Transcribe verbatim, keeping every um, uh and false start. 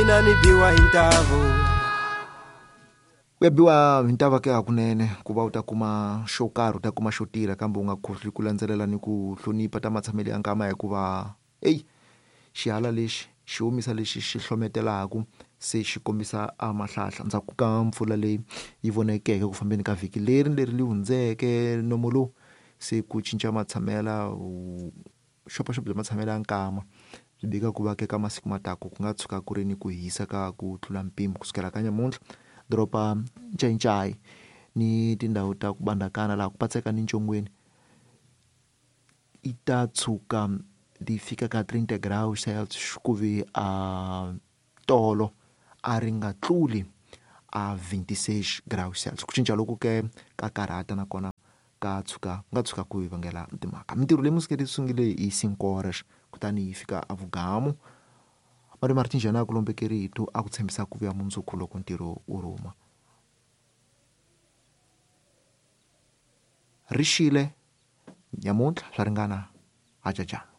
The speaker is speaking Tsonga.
Mina ni biwa hi ntavo. U ya biwa hi ntava ke hakunene ku va u ta kuma xo karhi u ta kuma xo tirha kambe u nga khohli ku landzelela ni ku hlonipha ta matshamelo ya nkama hikuva eyi xihala lexi xi omisa lexi xi hlometelaku se xi kombisa a mahlahla ndzhaku ka mpfula leyi yi vonekeke ku fambeni ka vhiki leri leri li hundzeke nomo lowu se ku cinca matshamela xopaxop bya matshamelo ya nkama byi bika ku va ka masiku mataku ku nga tshuka ku ri ni ku hisa ka ku tlula mpimo kusukela ka nyamuntlha doroba Ncayincai ni tindhawu ta ku bandakana laha ku patseka ni ncongweni i ta tshuka ti fika ka trinta graus Celsius ku ve a tolo a ri nga tluli a vinte e seis graus Celsius. Ku cinca loku ke ka karhata nakona ka tshuka nga tshuka ku hi vangela timhaka mintirho leyi musiketi sungule hi cinco horas kutani yi fika a vugamu Malume Martin Jana ku lombeke rito a ku tshembisa ku vuya mundzuku loko ntirho wu rhuma ri xile nyamuntlha swa ringana hajaja.